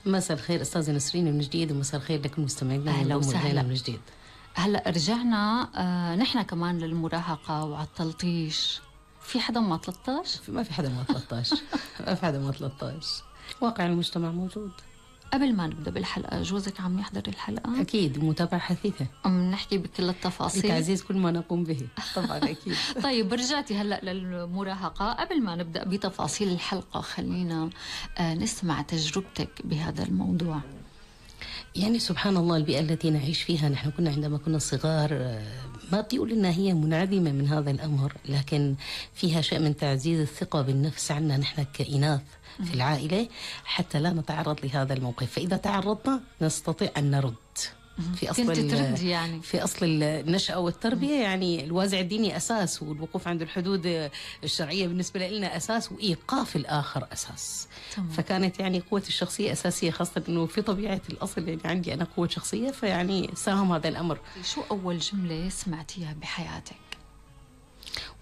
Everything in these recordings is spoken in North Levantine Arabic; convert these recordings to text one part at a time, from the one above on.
مساء الخير أستاذة نسرين من جديد، ومساء الخير لكم مستمعينا. أهلا وسهلا من جديد. هلا رجعنا نحن كمان للمراهقة وعلى التلطيش. في حدا ما 13؟ ما في حدا ما 13. ما في حدا ما 13. واقع المجتمع موجود. قبل ما نبدأ بالحلقة، جوزك عم يحضر الحلقة؟ أكيد، متابعة حثيثة. عم نحكي بكل التفاصيل بتعزيز كل ما نقوم به طبعا أكيد. طيب رجعتي هلأ للمراهقة. قبل ما نبدأ بتفاصيل الحلقة خلينا نسمع تجربتك بهذا الموضوع. يعني سبحان الله، البيئة التي نعيش فيها، نحن كنا عندما كنا صغار ما بدي أقول إنها هي منعدمة من هذا الأمر، لكن فيها شيء من تعزيز الثقة بالنفس عنا نحن كإناث في العائلة حتى لا نتعرض لهذا الموقف، فإذا تعرضنا نستطيع أن نرد. في أصل النشأة والتربية يعني الوازع الديني أساس، والوقوف عند الحدود الشرعية بالنسبة لنا أساس، وإيقاف الآخر أساس. فكانت يعني قوة الشخصية أساسية، خاصة أنه في طبيعة الأصل يعني عندي أنا قوة شخصية، فيعني ساهم هذا الأمر. شو أول جملة سمعتيها بحياتك؟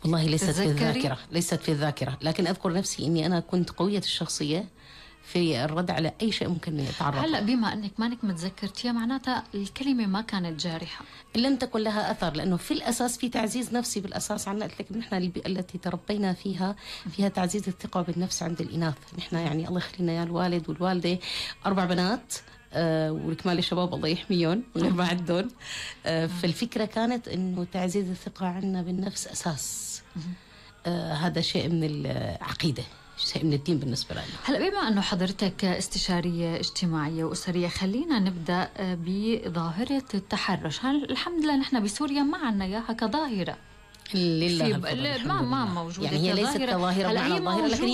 والله ليست في الذاكرة، لكن أذكر نفسي أني أنا كنت قوية الشخصية في الرد على أي شيء ممكن يتعرض. هلا بما أنك مانك متذكرتيها معناتها الكلمة ما كانت جارحة، لم تكن لها أثر، لأنه في الأساس في تعزيز نفسي بالأساس عنا. قلت لك نحن البيئة التي تربينا فيها تعزيز الثقة بالنفس عند الإناث. نحن يعني الله يخلينا يا الوالد والوالدة 4 بنات والكمال الشباب الله يحميهم غير ما عندهم. فالفكرة كانت إنه تعزيز الثقة عنا بالنفس أساس. هذا شيء من العقيدة، شيء من الدين بالنسبة لنا. هلا بما أنه حضرتك استشارية اجتماعية وأسرية، خلينا نبدأ بظاهرة التحرش. الحمد لله نحن بسوريا ما عنا إياها كظاهرة، لله ما موجودة. يعني هي ليست كظاهرة معنى الظاهرة، لكن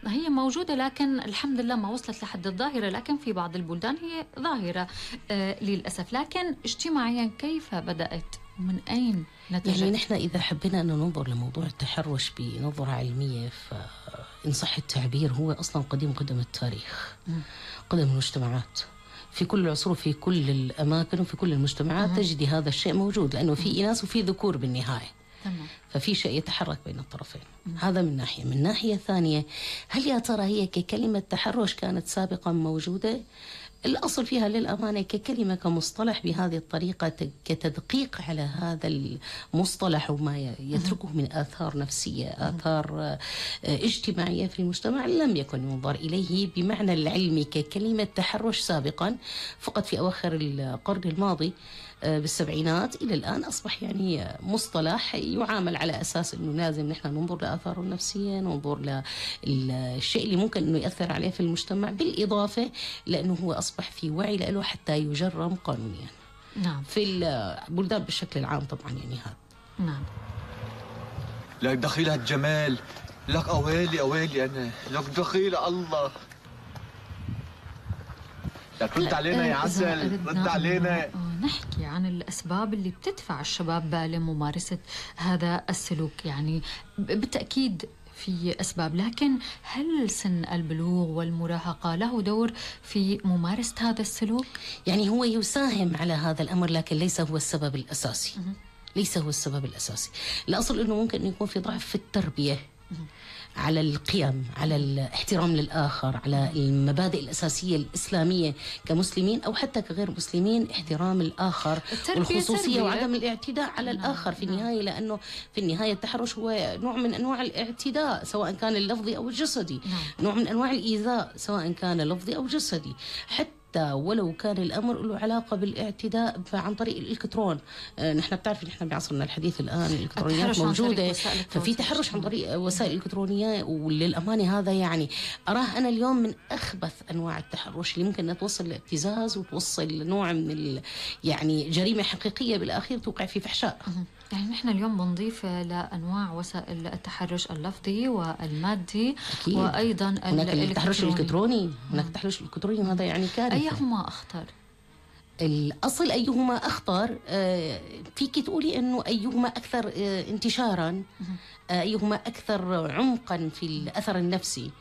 هي موجودة. لكن الحمد لله ما وصلت لحد الظاهرة، لكن في بعض البلدان هي ظاهرة للأسف. لكن اجتماعيا كيف بدأت ومن أين نتجت؟ يعني نحن إذا حبينا أن ننظر لموضوع التحرش بنظرة علمية، فإن صح التعبير هو أصلا قديم التاريخ، قدم المجتمعات في كل العصور وفي كل الأماكن وفي كل المجتمعات تجدي هذا الشيء موجود، لأنه في إناث وفي ذكور بالنهاية. ففي شيء يتحرك بين الطرفين. هذا من ناحية. من ناحية ثانية، هل يا ترى هي ككلمة تحرش كانت سابقا موجودة؟ الأصل فيها للأمانة ككلمة كمصطلح بهذه الطريقة، كتدقيق على هذا المصطلح وما يتركه من آثار نفسية، آثار اجتماعية في المجتمع، لم يكن ينظر إليه بمعنى العلمي ككلمة تحرش سابقا. فقط في أواخر القرن الماضي بالسبعينات إلى الآن أصبح يعني مصطلح يعامل على أساس أنه لازم نحن ننظر لآثاره النفسية، ننظر للشيء اللي ممكن أنه يأثر عليه في المجتمع، بالإضافة لأنه هو أصبح في وعي له حتى يجرم قانونيا. نعم. في البلدان بشكل العام طبعا يعني هذا. نعم. لك دخيلة الجمال، لك أويلي أنا، لك دخيلة الله. لك رد علينا يا عسل، رد علينا. نحكي عن الأسباب اللي بتدفع الشباب لممارسة هذا السلوك. يعني بالتأكيد في أسباب، لكن هل سن البلوغ والمراهقة له دور في ممارسة هذا السلوك؟ يعني هو يساهم على هذا الأمر، لكن ليس هو السبب الأساسي. ليس هو السبب الأساسي. الأصل أنه ممكن أن يكون في ضعف في التربية على القيم، على الاحترام للآخر، على المبادئ الأساسية الإسلامية كمسلمين أو حتى كغير مسلمين، احترام الآخر والخصوصية وعدم الاعتداء على الآخر في النهاية، لأنه في النهاية التحرش هو نوع من أنواع الاعتداء سواء كان اللفظي أو الجسدي، نوع من أنواع الإيذاء سواء كان لفظي أو جسدي، حتى ولو كان الأمر له علاقة بالاعتداء عن طريق الإلكترون. نحن بتعرف نحن بعصرنا الحديث الآن الإلكترونيات موجودة، ففي تحرش عن طريق وسائل إلكترونية، وللأمانة هذا يعني أراه أنا اليوم من أخبث أنواع التحرش اللي ممكن أن توصل لابتزاز وتوصل لنوع من يعني جريمة حقيقية بالأخير توقع في فحشاء. يعني نحن اليوم بنضيف لأنواع وسائل التحرش اللفظي والمادي. أكيد. وأيضا هناك التحرش الإلكتروني، هناك التحرش الإلكتروني، وهذا يعني كارثة. أيهما أخطر؟ الأصل أيهما أخطر، فيك تقولي أنه أيهما أكثر انتشارا، أيهما أكثر عمقا في الأثر النفسي.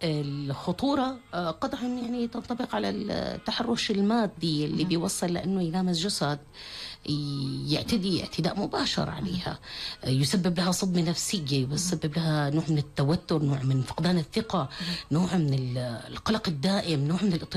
الخطورة قطعا يعني تنطبق على التحرش المادي اللي بيوصل لأنه يلامس جسد، يعتدي اعتداء مباشر عليها، يسبب لها صدمة نفسية، يسبب لها نوع من التوتر، نوع من فقدان الثقة، نوع من القلق الدائم، نوع من الاضطراب.